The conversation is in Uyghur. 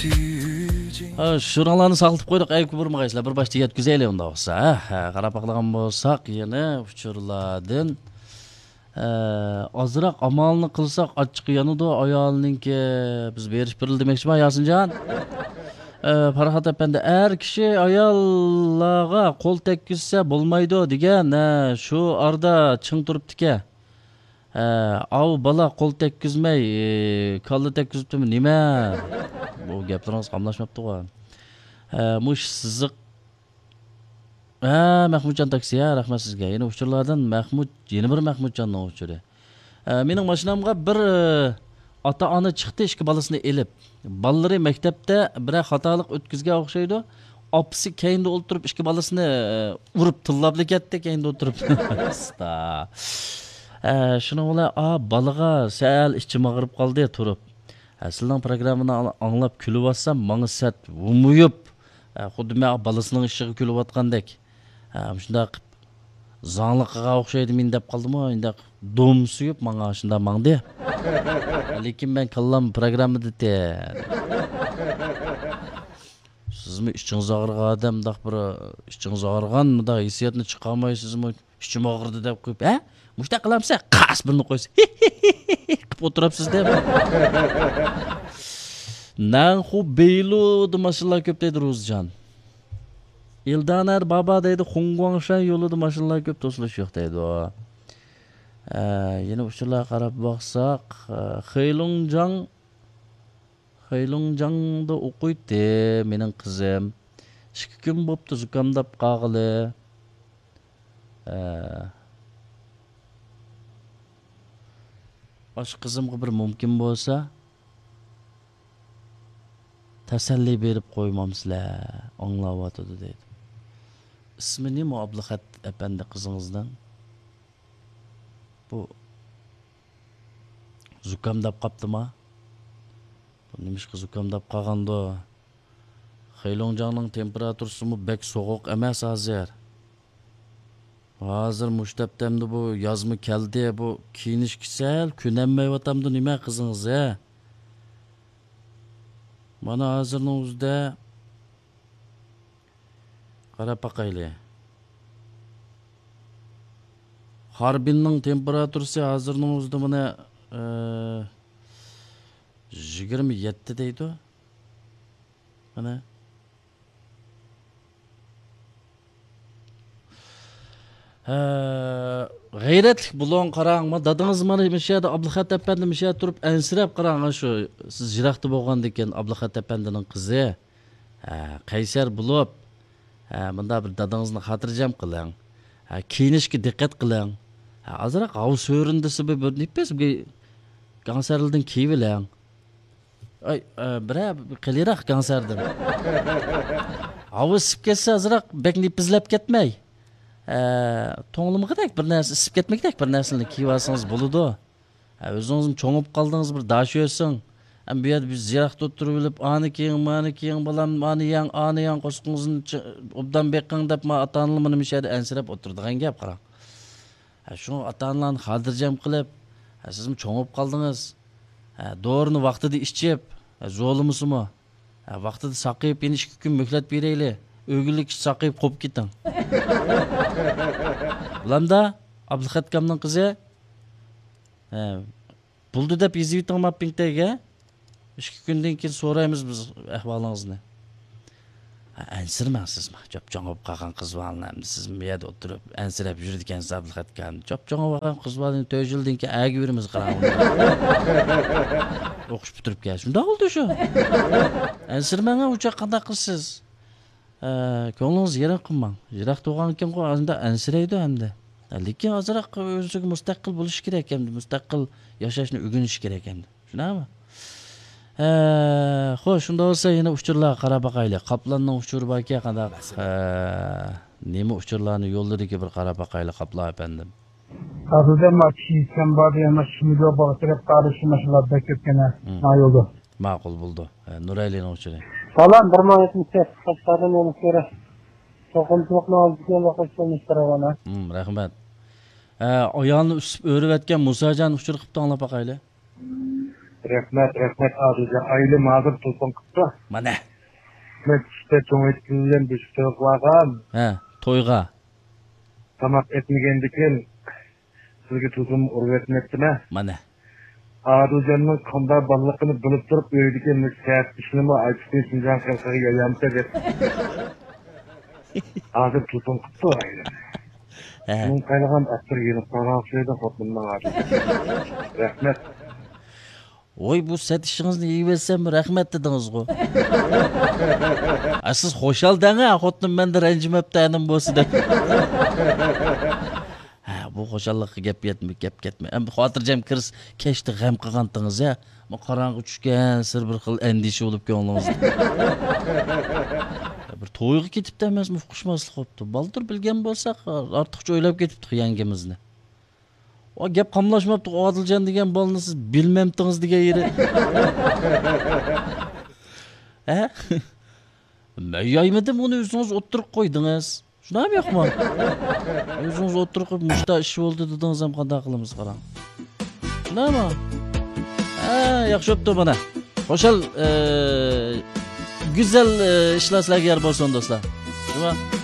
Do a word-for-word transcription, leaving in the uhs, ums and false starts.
ھە، شۇرۇڭلارنى ساقلىتىپ قويدۇق، ئەي كۇبۇرمىغايسىلەر، بىر باشتا يەتكۈزەيلى ئۇنداق بولسا. ھە، ھە، قاراپ باقىدىغان بولساق، يەنە ئۇچۇرلاردىن، ئە، ئازراق ئامالنى قىلساق، ئاچچىقى يانىدۇ ئايالنىڭكى. بىز بېرىش بېرىلدى دېمەكچىما، ياسىنجان؟ ئە، پەرھات ئەپەندى، ئەر كىشى ئاياللارغا قول تەگكۈزسە بولمايدۇ دېگەن، ھە، شۇ ئارىدا چىڭ تۇرۇپتىكەن. ھە، ئاۋۇ بالا قول تەگكۈزمەي، ئى، كاللا تەگكۈزۈپتىمۇ نېمە؟ بۇ گەپلىرىڭىز قاملاشماپتىغۇ. ھە، مۇش سىزىق. ھە، مەھمۇتجان تاكسى، ھە، رەھمەت سىزگە. يەنە ئۇچۇرلاردىن مەھمۇت، يەنە بىر مەھمۇتجاننىڭ ئۇچۇرى. ھە، مېنىڭ ماشىنامغا بىر، ئى، ئاتا-ئانا چىقتى، ئىككى بالىسىنى ئېلىپ. بالىلىرى مەكتەپتە بىرەر خاتالىق ئۆتكۈزگەن ئوخشايدۇ. ئاپىسى كەينىدە ئولتۇرۇپ، ئىككى بالىسىنى، ئى، ئۇرۇپ تىللاپلا كەتتى، كەينىدە ئولتۇرۇپ. ئاستا. ئە، شۇنىڭ بىلەن، ئا، بالىغا سەل ئىچىم ئاغرىپ قالدى تۇرۇپ. ئە، سىلىنىڭ پروگراممىنى ئاڭ-، ئاڭلاپ كۈلۈۋاتسام، ماڭا سەت ھومىيىپ، ئە، خۇددى مەن بالىسىنىڭ ئىشىغا كۈلۈۋاتقاندەك. ئە، مۇشۇنداق قىپ زاڭلىقىغا ئوخشايدۇ مېنى دەپ قالدىمۇ، ئۇنداق دۇم سۆيۈپ ماڭا شۇنداق ماڭدى. لېكىن مەن كاللام پروگراممىدا تەن. سىزمۇ ئىچىڭىز ئاغرىغان ئادەم، مۇنداق بىر ئىچىڭىز ئاغرىغان مۇنداق ھېسسىياتنى چىقارمايسىزمۇ؟ ئىچىم ئاغرىدى دەپ قويۇپ، ھە؟ مۇشۇنداق قىلامسە، قاس بىرنى قويسا، قىپ ئولتۇرۇپسىز دەپ. نەنخۇ بېيلۇدا ماشىنىلار كۆپ دەيدۇ روزىجان. ئىلدانەر بابا دەيدۇ، خۇڭگۇاڭشەن يولىدا ماشىنىلار كۆپ، توسۇلۇش يوق دەيدۇ. ئە، يەنە ئۇچۇرلارغا قاراپ باقساق، ئە، خېيلۇڭجاڭ، خېيلۇڭجاڭدا ئوقۇيتتى مېنىڭ قىزىم. ئىككى كۈن بوپتۇ زۇكامداپ قالغىلى. ئە، ئاشۇ قىزىمغا بىر مۇمكىن بولسا، تەسەللى بېرىپ قويمامسىلەر، ئاڭلاۋاتىدۇ دەيدۇ. ئىسمى نېمە ئابلىخەت ئەپەندى قىزىڭىزنىڭ؟ بۇ زۇكامداپ قاپتىما؟ بۇ نېمىشقا زۇكامداپ قالغاندۇ؟ خېيلۇڭجاڭنىڭ تېمپېراتۇرىسىمۇ بەك سوغۇق ئەمەس ھازىر. ھازىر مۇشۇ دەپتەمدە بۇ يازمۇ كەلدى، بۇ كىيىنىشكە سەل كۆنەلمەيۋاتامدۇ نېمە قىزىڭىز، ھە؟ مانا ھازىرنىڭ ئۆزىدە قاراپ باقايلى. خاربىننىڭ تېمپېراتۇرىسى ھازىرنىڭ ئۆزىدە مانا، ئە، يىگىرمە يەتتە دەيدۇ. مانا. ھە، غەيرەتلىك بولۇڭ، قاراڭ. ما دادىڭىز مانا مۇشۇ يەردە ئابلىخەت ئەپەندى مۇشۇ يەردە تۇرۇپ ئەنسىرەپ قاراڭ، شۇ سىز يىراقتا بولغاندىكىن ئابلىخەت ئەپەندىنىڭ قىزى. ھە، قەيسەر بولۇپ، ھە، مۇنداق بىر دادىڭىزنى خاتىرجەم قىلىڭ. ھە، كىيىنىشكە دىققەت قىلىڭ. ھە، ئازراق ھاۋا سۆرۈندىسى بىر، بىر نېپىز بىر گاڭسەرلىدىن كىيىۋېلىڭ. ئاي، ئە، بىرەر قېلىراق گاڭسەردىن. ھاۋا ئىسسىپ كەتسە ئازراق بەك نېپىزلەپ كەتمەي. ئە، توڭلىمىغۇدەك بىر نەرسە، ئىسسىپ كەتمىگۈدەك بىر نەرسىنى كىيىۋالسىڭىز بولىدۇ. ھە، ئۆزىڭىزمۇ چوڭىيىپ قالدىڭىز، بىر داش يۆسۈڭ. ھەم بۇ يەردە بىز يىراقتا ئولتۇرۇۋېلىپ، ئانى كىيىڭ، مانى كىيىڭ، بالام، ئانى يەڭ، ئانى يەڭ، قورسىقىڭىزنى چ-، ئوبدان بېقىڭ دەپ، ما ئاتا-ئانىلار مانا مۇشۇ يەردە ئەنسىرەپ ئولتۇرىدىغان گەپ، قاراڭ. ھە، شۇڭا ئاتا-ئانىلارنى خاتىرجەم قىلىپ، ھە، سىزمۇ چوڭىيىپ قالدىڭىز. ھە، دورىنى ۋاقتىدا ئىچىپ، ھە، زورلىمىسىمۇ. ھە، ۋاقتىدا ساقىيىپ، يەنە ئىككى كۈن مۆھلەت بېرەيلى. ئۆگۈنلۈككىچە ساقىيىپ قوپۇپ كېتىڭ. بولامدا، ئابلىخەت ئاكامنىڭ قىزى. ھە، بولدى دەپ يېزىۋېتىڭ ما پىڭتەيگە. ئىككى كۈندىن كېيىن سورايمىز بىز ئەھۋالىڭىزنى. ھە، ئەنسىرىمەڭ سىزمۇ. چوپچوڭ بولۇپ قالغان قىز بالىنى ئەمدى سىز بۇ يەردە ئولتۇرۇپ ئەنسىرەپ يۈرىدىكەنسىز ئابلىخەت ئاكا. چوپچوڭ بولۇپ قالغان قىز بالىنى تۆت يىلدىن كېيىن ئەگە بېرىمىز قاراڭ. ئوقۇش پۈتتۈرۈپ كەل. شۇنداق بولدى شۇ. ئەنسىرىمەڭ ئۇ چاغ قانداق قىلىسىز؟ ئە، كۆڭلىڭىزنى يېرىم قىلماڭ. يىراق تۇرغانكەنغۇ ئەمدى ئەنسىرەيدۇ ئەمدى. ئە، لېكىن ئازراق ئۆزىگە مۇستەقىل بولۇشى كېرەك ئەمدى. مۇستەقىل ياشاشنى ئۆگىنىشى كېرەك ئەمدى. شۇنداقمۇ؟ ئە، خوش، شۇنداق بولسا يەنە ئۇچۇرلارغا قاراپ باقايلى. قاپلاننىڭ ئۇچۇرى باركەن قانداق؟ ئە، نېمە ئۇچۇرلارنى يوللىدىكى بىر قاراپ باقايلى، قاپلان ئەپەندىم. ھازىردا ما كىشى يىتكەن بار دېگەن ما كىشى مۇدىر بولغا كېرەپ قارىشى ماشىنىلار بەك كۆپكەن ھە. مم. ما يولدا. ماقۇل بولدى. ئە، نۇرەلىنىڭ ئۇچۇرى. سالام، بىر مىڭ يەتمىش سەككىز قەشقەردىن يەنە كۆرە. توقۇمىچىلىقنىڭ ئالدىدىكى يوللۇق ئىشلىرىنى ئىشلەۋاتىمەن. مم، رەھمەت. ئە، ئايالنى ئۈسۈپ ئۆرۈۋەتكەن مۇساجان ئۇچۇرى قىپتۇ، ئاڭلاپ باقايلى. رەھمەت، رەھمەت، ئادىلجان. ئايلىم ھازىر تېلېفون قىپتۇ. مانا. مەن چۈشتە چوڭ ئېتىز بىلەن بېشىپ تويغا بارغان. ھە، تويغا. تاماق ئەتمىگەندىكىن سىزگە تېلېفون ئۇرۇۋەتمەپتىمەن. مانا. ئادىلجاننىڭ قانداق بالىلىقىنى بىلىپ تۇرۇپ، ئۆيدىكى مۇشۇ سەت ئىشنىمۇ ئاچىقى شىنجاڭ خەلقىگە يايامسە دەپ. ھازىر تېلېفون قىپتۇ ئايلىم. ھە. مۇڭ قايلىغان ئەتتىر يېنىپ قالغان ئوخشايدۇ خوتۇننىڭ ھازىر. رەھمەت. ۋوي، بۇ سەت ئىشىڭىزنى يېيىۋەتسەم رەھمەت دېدىڭىزغۇ. ئا، سىز خۇشال دەڭە، خوتۇنۇم مەندە رەنجىمەپتۇ ئەنىم بولسا دەپ. ھە، بۇ خۇشاللىققا گەپ يەتمە، گەپ كەتمە. ئەمدى خاتىرجەم كىرسە، كەچتە غەم قىلغانتىڭىز يا. مانا قاراڭغۇ چۈشكەن سىر بىر خىل ئەندىشە بولۇپ كۆڭلىڭىزدە. بىر تويغا كېتىپتۇ ئەمەسمۇ، ئۇقۇشماسلىق بوپتۇ. بالدۇر بىلگەن بولساق، ئارتۇقچە ئويلاپ كېتىپتۇق يەڭگىمىزنى. ۋا گەپ قاملاشماپتۇ، ئادىلجان دېگەن بالىنى سىز بىلمەمتىڭىز دېگەن يېرى. ھە؟ مەن يايمىدىم، ئۇنى ئۆزىڭىز ئوتتۇرىغا قويدىڭىز. شۇنداقمۇ يوقمۇ؟ ئۆزىڭىز ئوتتۇرىغا قويۇپ، مۇشتا ئىش بولدى دېدىڭىز ھەم قانداق قىلىمىز قاراڭ. شۇنداقمۇ؟ ھە، ياخشى بوپتۇ مانا. خۇشال، ئە، گۈزەل، ئە، ئىشلار سىلەرگە يار بولسۇن دوستلار. شۇما؟